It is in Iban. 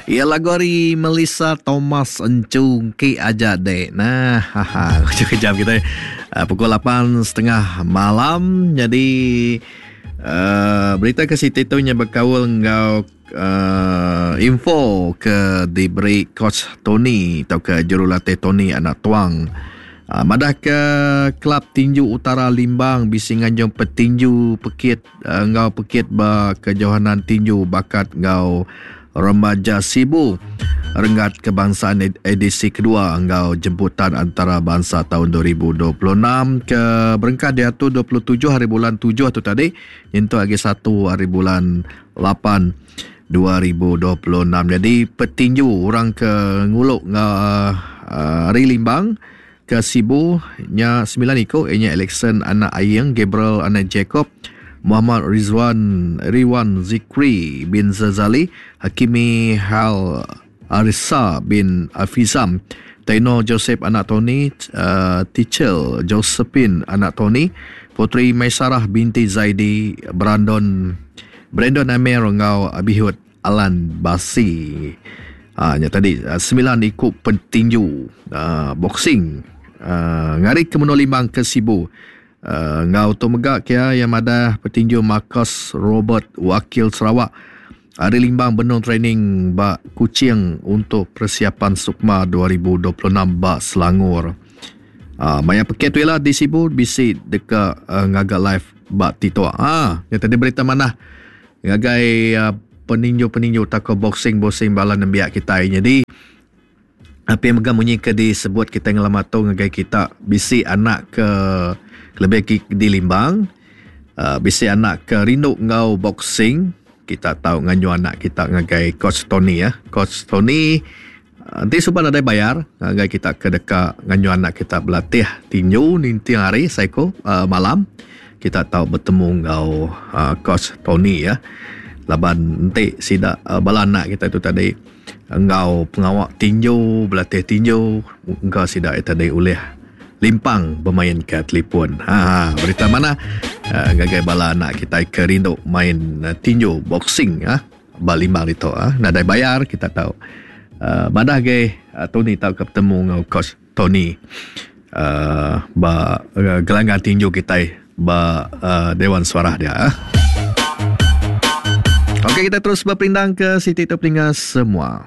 Iya lagu ari Melissa Thomas Enchungki aja dek. Nah, haha. Kejap kita uh, pukul 8.30 malam. Jadi uh, berita ke siti tu nya bekaul enggau uh, info ke diberi coach Tony atau ke jurulatih Tony anak tuang. Uh, madah ke Kelab Tinju Utara Limbang bisi nganjung petinju pekit enggau pekit ba Kejohanan Tinju Bakat enggau Remaja Sibu Renggat Kebangsaan edisi kedua enggau Jemputan Antarabansa taun 2026 ke berengkah diatur 27 hari bulan tujuh tu tadi nyentuk agi satu hari bulan lapan 2026. Jadi petinju orang ke ngulu enggau ari Limbang Ke Sibu nya semilan iku iya nya Alexson anak Aying, Gabriel anak Jacob, Muhammad Rizwan Riwan Zikri bin Zazali, Hakimi Hal Arissa bin Afizam, Taino Joseph anak Tony, Tichel Josephine anak Tony, Puteri Maisarah binti Zaidi, Brandon Brandon Amir enggau Abihud Alan Basi. Ha, nya tadi semilan iku petinju uh, boxing uh, ngari ke menua Limbang ke Sibu. Uh, enggau tu mega kia yang madah petinju Marcus Robert wakil Sarawak ari Limbang benung training ba Kuching untuk persiapan Sukma 2026 ba Selangor. Uh, maya pekit tu ila di Sibu bisi deka uh, ngaga live ba TikTok. Ha, nya tadi berita manah Ngagai peninju-peninju tauka boxing-boxing bala nembiak kitai. Nyadi api mega munyi ke disebut kitai ngelama tu ngagai kita bisi anak ke kelebih agi di Limbang uhh bisi anak ke rindu enggau boxing kita tau nganjung anak kita ngagai coach Tony ah. Coach Tony enti suba nadai bayar ngagai kita ke deka nganjung anak kita belatih tinju ninting hari seiku uhh malam. Kita tau betemu enggau coach Tony ya. Laban enti sida bala anak kita tu tadi enggau pengawa tinju, belatih tinju engka sida iya tadi ulih limpang bemain ka telefon. Haa berita manah ngagai bala anak kitai ke rindu main tinju boxing ah ba limbang ditu ah. Nadai bayar kita tau madah agi Tony tauka betemu enggau coach Tony uhh ba gelanggang tinju kitai ba uhh Dewan Suarah dia. Okey kita terus beperindang ke siti tu peninga semua.